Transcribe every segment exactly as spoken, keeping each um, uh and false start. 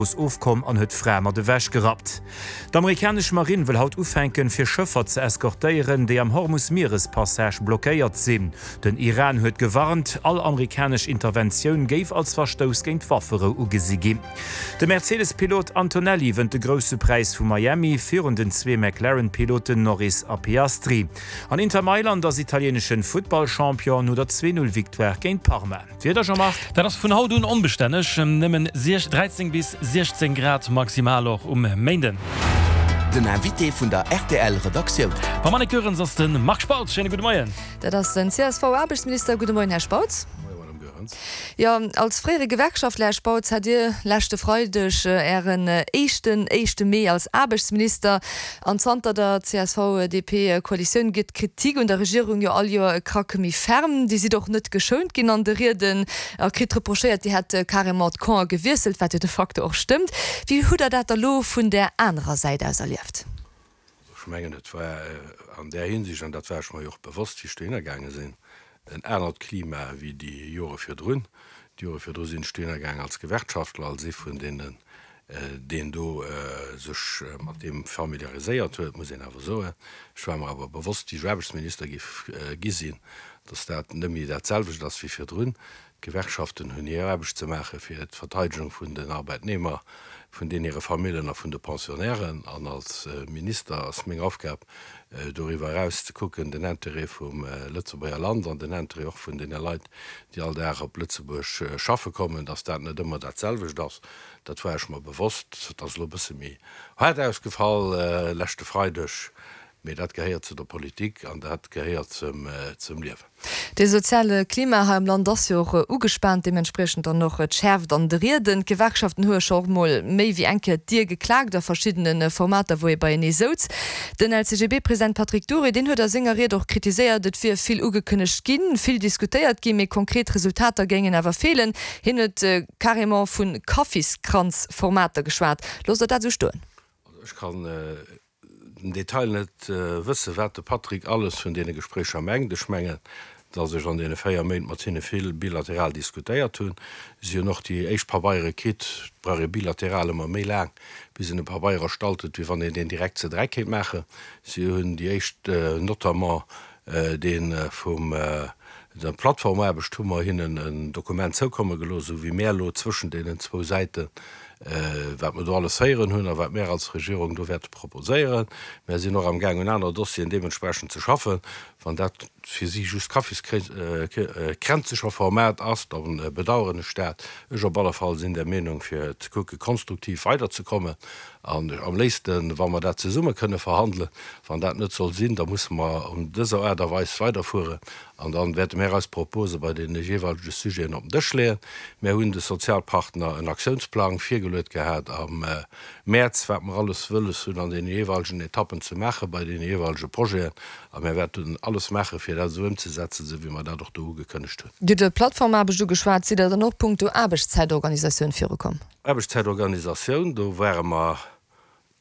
Ofkomm an huet d'Fra mat ewech gerappt. D'amerikanesch Marinn wëll haut ufänken, fir Schëffer ze eskortéieren, déi am Hormus-Mierespassage blockéiert sinn. Den Iran huet gewarnt, all amerikanesch Interventioun géif als Verstouss géint d'Wafferou ugesi ginn. De Mercedes-Pilot Antonelli wënnt de Grousse Präis vu Miami virun den zwee McLaren-Piloten Norris a Piastri. An Inter Mailand ass italieenesche Futtballchampion no der Zwee-Null-Victoire géint Parma. D'Wieder, Jean-Marc? Dat ass vun haut un onbestänneg, nëmmen dräizéng bis siechzéng Grad maximal och um Méinden. Den Invité vun der R T L Redaktioun. Mam Annick Goerens ass de Marc Spautz. Schéine gudde Moien. Dat ass den C S V-Aarbechtsminister. Gudde Moien, Här Spautz. Moie, Madame Goerens. Jo, als fréiere Gewerkschaftler, Här Spautz, hat Dir leschte Freideg Ären éischten éischte Mee als Aarbechtsminister. An zanter der C S V D P Koalitioun gëtt d'Kritik un der Regierung jo all Joer e Krack méi ferm. Dir sidd och net geschount ginn an de Rieden a kritt reprochéiert, Dir hätt carrément d'Camp gewiesselt, wat jo de facto och stëmmt. Wéi hutt Der dat da lo vun där anerer Säit aus erlieft? Ech mengen, et war an där Hinsicht, an dat war ech mer jo och bewosst, wéi ech dohinner gaange sinn, en anert Klima wéi déi Jore virdrun. Déi Jore virdru sinn ech dohinner gaangen als Gewerkschaftler, als ee vun deenen, deen do sech mat deem familiariséiert huet, muss een awer soen. Ech war mer awer bewosst, wéi ech Aarbechtsminister géif gi sinn, datt dat net méi dat selwecht ass wéi virdrun. D'Gewerkschaften hunn hir Aarbecht ze maache fir d'Verteidegung vun den Arbeitnehmer, vun deenen hire Famillen a vun de Pensionnairen. An als Minister ass meng Aufgab, doriwwer eraus ze kucken, den Intérêt vum Lëtzebuerger Land an den Intérêt och vun deene Leit, déi all Dag op Lëtzebuerg schaffe kommen, datt dat net ëmmer dat selwecht ass. Dat war ech mer bewosst. Dat ass elo e bësse méi haart ausgefall leschte Freideg, mee dat gehéiert zu der Politik an dat gehéiert zum zum Liewen. De soziale Klima hei am Land ass jo och ugespaant, deementspriechend dann och d'Schäerft an de Rieden. D'Gewerkschaften hu scho och mol méi wéi eng Kéier d'Dier geklaakt a verschiddene Formater, wou ee beienee souz. Den L C G B-President Patrick Dury, deen huet a senger Ried och kritiséiert, et wier vill ugekënnegt ginn, vill diskutéiert ginn, mee konkret Resultater géingen awer feelen. Hien huet carrément vu Kaffiskranz-Formater geschwat. Loosst Der dat esou stoen? Also ech kann den Detail net wëssen, wat de Patrick alles vun deene Gespréicher mengt. Ech mengen, datt ech an deene véier Méint mat hinne vill bilateral diskutéiert hunn. Si hunn och déi éischt Pabeiere kritt. Et brauch ee bilateral ëmmer méi laang, bis een e Pabeier erstallt huet, wéi wann een deen direkt ze dräi kéint maachen. Si hunn déi éischt, notamment dee vum der Plattformaarbecht, hu mer hinnen en Dokument zoukomme gelooss, esou wéi mär elo zwëschen deenen zwou Säiten, wat mer do alles héieren hunn a wat mär als Regierung do wäerte proposéieren. Mär sinn och amgaang, un aner Dossieren deementsprechend ze schaffen. Wann dat fir si just Kaffiskränzecher Format ass, da bedauern ech dat. Ech op alle Fall sinn der Meenung, fir ze kucke konstruktiv weiderzekommen an am léifsten, wa mer dat zesumme kënne verhandelen. Wann dat net soll sinn, da musse mer an dëser Aart a Weis weiderfueren an dann wäerte mär eis Propose bei deene jeeweilege Sujeten op den Dësch leeën. Mär hunn de Sozialpartner en Aktiounsplang virgeluet gehat am Mäerz, wat mer alles wëlles hunn an deene jeeweilegen Etappen ze maache bei deene jeeweilege Projeten, a mär wäerten alles maache fir dat esou ëmzesetzen, esou wéi mer dat och do ugekënnegt hunn. Dir hutt iwwer Plattformaarbecht ugeschwat. Sidd Der dann och punkto Aarbechtszäitorganisatioun virukomm? Aarbechtszäitorganisatioun, do ware mer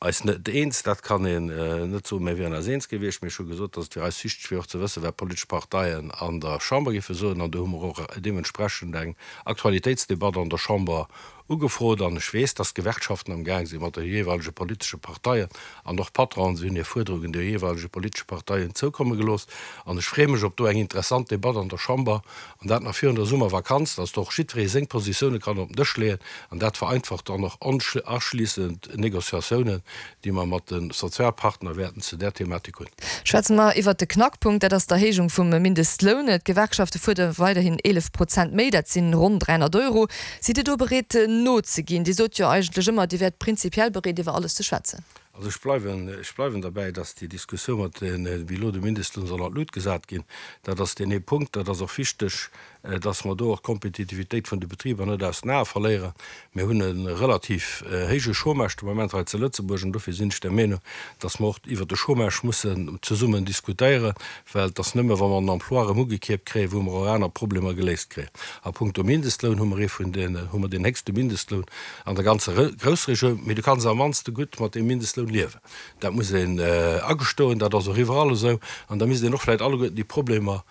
eis net eens. Dat kann een net soen, mir wieren eis eens gewiescht. Mee ech hu gesot, datt et fir eis wichteg wier och ze wëssen, wat d'politesch Parteien an der Chamber géife soen. An do hu mer och deementsprechend eng Aktualitéitsdebatt an der Chamber ugefrot. An ech weess, datt d'Gewerkschaften am Gaang si mat de jeeweilege politesche Parteien an och d'Patronen, si hunn hir Fuerderungen de jeeweilege politesche Parteien zoukomme gelooss. An ech freeë mech op do eng interessant Debatt an der Chamber, an dat nach virun der Summervakanz, datt do och jiddweree seng Positioune kann op den Dësch leeën. An dat vereinfacht dann och anschliessend Négociatiounen, déi mer mat de Sozialpartner wäerten zu där Thematik hunn. Schwätze mer iwwert de Knackpunkt, dat ass d'Erhéijung vum Mindestloun. D'Gewerkschafte fuerdere weiderhin eelef Prozent méi, dat sinn ronn dräihonnert Euro. Sidd Dir do bereet nozeginn? Dir sot jo eigentlech ëmmer, Dir wäert prinzipiell bereet iwwer alles ze schwätzen. Also ech bleiwen, ech bleiwen derbäi, datt déi Diskussioun mat den, wéi elo de Mindestloun soll an d'Lut gesat ginn, dat ass deen ee Punkt. Dat ass och wichteg, datt mer do och d'Kompetitivitéit vun de Betriber net aus den Ae verléieren. Mir hunn e relativ héije Chômage de Moment hei zu Lëtzebuerg an dofir sinn ech der Meenung, datt mer och iwwert de Chômage mussen zesummen diskutéieren, well et ass nëmme wa mer den Emploi erëm ugekierpt kréien, wou mer och aner Problemer geléist kréien. A punkto Mindestloun hu mer ee vun den, hu mer deen héchste Mindestloun an der ganzer Groussregioun, mee du kanns am mannste gutt mat deem Mindestloun liewen. Dat muss een agestoen, dat ass och iwwerall esou. An da misst een och vläicht alleguerten déi Problemer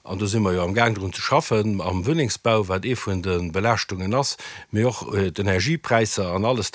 An do si mer jo amgaang drun ze schaffen, am Wunnengsbau, wat ee vun de Belaaschtungen ass, mee och d'Energiepräisser an alles dat.